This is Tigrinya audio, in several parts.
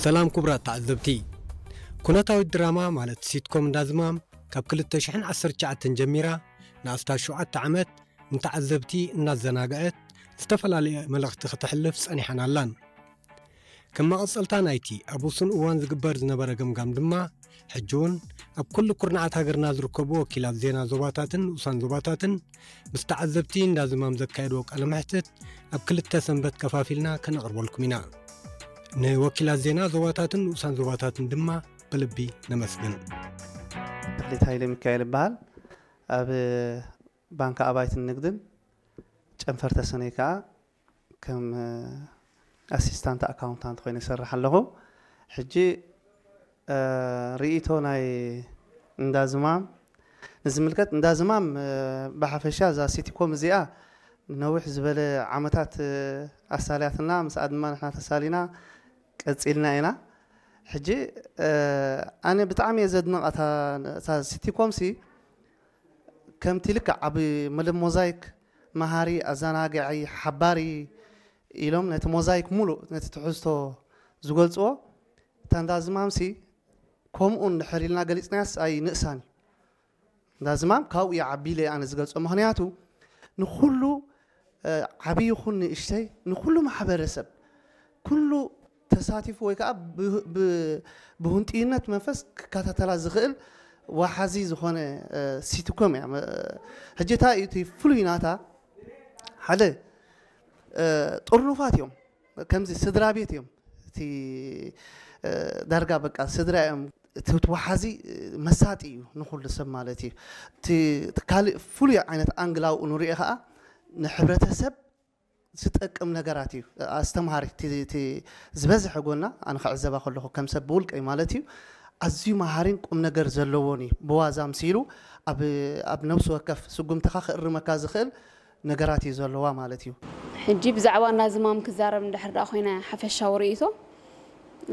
ሰላም ክቡራት ተዓዘብቲ። ኩነታዊት ድራማ ማለት ሲትኮም እንዳዝማም ካብ ክልተ ሽሕን ዓሰርተ ትሽዓተን ጀሚራ ንኣስታት ሸውዓተ ዓመት ንተዓዘብቲ እናዘናግዐት ዝተፈላለየ መልእኽቲ ከተሕልፍ ጸኒሓን ኣላን። ከም መቐጸልታ ናይቲ ኣብ ውሱን እዋን ዝግበር ዝነበረ ገምጋም ድማ፣ ሕጂ እውን ኣብ ኩሉ ኩርናዓት ሃገርና ዝርከቡ ወኪላት ዜና ዞባታትን ንኡሳን ዞባታትን ምስ ተዓዘብቲ እንዳዝማም ዘካየድዎ ቃለ መሕትት ኣብ ክልተ ሰንበት ከፋፊልና ከነቕርበልኩም ኢና። ንወኪላት ዜና ዞባታትን ንኡሳን ዞባታትን ድማ ብልቢ ነመስግን። ተኽሊት ሃይለ ሚካኤል ይበሃል። ኣብ ባንክ ኣባይትን ንግድን ጨንፈር ተሰነይ ከዓ ከም ኣሲስታንት ኣካውንታንት ኮይነ ይሰርሕ ኣለኹ። ሕጂ እ፣ ርእይቶ ናይ እንዳዝማም ንዝምልከት፣ እንዳዝማም እ፣ ብሓፈሻ እዛ ሲቲኮም እዚኣ ነዊሕ ዝበለ ዓመታት እ፣ ኣሳልያትና፣ ምስኣ ድማ ንሕና ተሳሊና ቀጺልና ኢና። ሕጂ እ፣ ኣነ ብጣዕሚ እየ ዘድንቓ እታ እታ ሲቲኮም ሲ ከምቲ ልክዕ ኣብ መለ ሞዛይክ መሃሪ፣ ኣዘናግዒ፣ ሓባሪ ኢሎም ነቲ ሞዛይክ ሙሉእ ነቲ ትሕዝቶ ዝገልፅዎ፣ እታ እንዳዝማምሲ ከምኡ እንድሕር ኢልና ገሊፅናያስ ኣይንእሳን እዩ። እንዳዝማም ካብኡ ይዓቢ ኢለ ኣነ ዝገልፆ። ምክንያቱ ንኩሉ እ፣ ዓብዪ ይኹን ንእሽተይ፣ ንኩሉ ማሕበረሰብ፣ ኩሉ ተሳቲፉ ወይ ከዓ ብ- ብ- ብሁንጥይነት መንፈስ ክከታተላ ዝኽእል ዋሓዚ ዝኾነ እ፣ ሲትኮም እያ። መ- ሕጂ እታ እቲ ፍሉይ ናታ ሓደ እ፣ ጥርኑፋት እዮም፣ ከምዚ ስድራ ቤት እዮም። እቲ እ፣ ዳርጋ በቃ ስድራ እዮም። እቲ ወሓዚ እ፣ መሳጢ እዩ ንኹሉ ሰብ ማለት እዩ። እቲ እቲ ካልእ ፍሉይ ዓይነት ኣንግል ኣብኡ ንሪኦ ከዓ ንሕብረተሰብ ዝጠቅም ነገራት እዩ ኣስተምሃሪ። እቲ እቲ ዝበዝሐ ጎና ኣነ ክዕዘባ ከለኹ ከም ሰብ ብውልቀይ ማለት እዩ ኣዝዩ መሃሪን ቁም ነገር ዘለዎን እዩ። ብዋዛ ኣምሲሉ ኣብ ኣብ ነብሲ ወከፍ ስጉምትኻ ክእርመካ ዝኽእል ነገራት እዩ ዘለዋ ማለት እዩ። ሕጂ ብዛዕባ እንዳዝማም ክዛረብ እንድሕር ደኣ ኮይነ ሓፈሻዊ ርእይቶ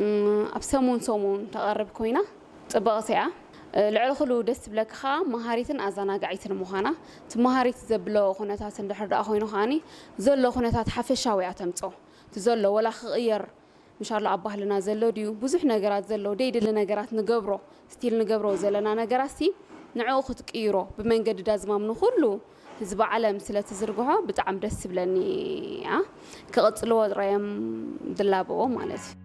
እም፣ ኣብ ሰሙን ሰሙን ተቐርብ ኮይና ፅብቕቲ እያ። እ፣ ልዕሊ ኩሉ ደስ ትብለኪ ከዓ መሃሪትን ኣዘናጋዒትን ምዃና፣ እቲ መሃሪት ዘብሎ ኩነታት እንድሕር ደኣ ኮይኑ ከዓኒ ዘሎ ኩነታት ሓፈሻዊ እያ ተምፅኦ። እቲ ዘሎ ወላ ክቕየር ምሻሎ ኣብ ባህልና ዘሎ ድዩ ብዙሕ ነገራት ዘሎ ደይድሊ ነገራት ንገብሮ ስቲል ንገብሮ ዘለና ነገራት ሲ ንዕኡ ክትቅይሮ ብመንገዲ ዳዝማም ንኹሉ ህዝቢ ዓለም ስለ ትዝርግሖ ብጣዕሚ ደስ ትብለኒ እያ። ክቕጽልዎ ጥራዮም ድላበዎ ማለት እዩ።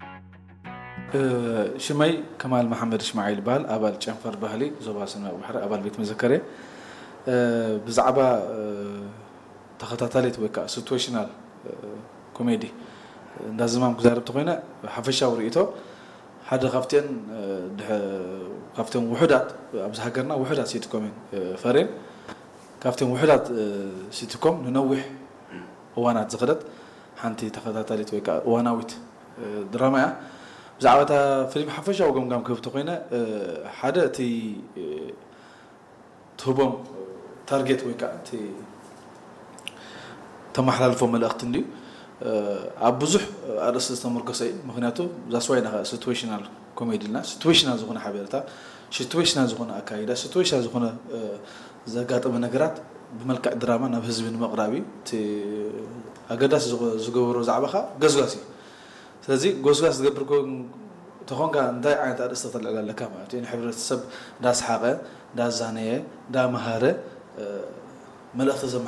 ሽመይ ከማል መሓመድ እስማዒል ይበሃል። ኣባል ጨንፈር ባህሊ ዞባ ሰሜን ባሕሪ ኣባል ቤት መዘከር እየ። ብዛዕባ ተኸታታሊት ወይ ከዓ ሲትዌሽናል ኮሜዲ እንዳ ዝማም ክዛረብ ተኮይነ ሓፈሻዊ ርእይቶ ሓደ ካብተን ካብተን ውሑዳት ኣብዚ ሃገርና ውሑዳት ሲትኮም እየን ፈርየን ካብተን ውሑዳት ሲትኮም ንነዊሕ እዋናት ዝኸደት ሓንቲ ተኸታታሊት ወይ ከዓ እዋናዊት ድራማ እያ። ብዛዕባ እታ ፊልም ሓፈሻዊ ገምጋም ክህብ ተኮይነ ሓደ እቲ ትህቦም ታርጌት ወይ ከዓ እቲ ተመሓላልፎ መልእክቲ እንድዩ ኣብ ብዙሕ ኣርእስቲ ዝተመርኮሰ እዩ። ምክንያቱ that's why ኢና ከዓ ሲትዌሽናል ኮሜዲ ኢልና። ሲትዌሽናል ዝኮነ ሓበሬታ፣ ሲትዌሽናል ዝኮነ ኣካይዳ፣ ሲትዌሽናል ዝኮነ ዘጋጠመ ነገራት ብመልክዕ ድራማ ናብ ህዝቢ ንምቕራብ እዩ። እቲ ኣገዳሲ ዝገበሮ ዛዕባ ከዓ ገስጋስ እዩ። ስለዚ ጎስጋስ ዝገብር ተኾንካ እንታይ ዓይነት ኣርእስቲ ከተልዕል ኣለካ ማለት እዩ። ንሕብረተሰብ እንዳስሓቐ እንዳዛነየ እንዳመሃረ መልእኽቲ ዘመሓ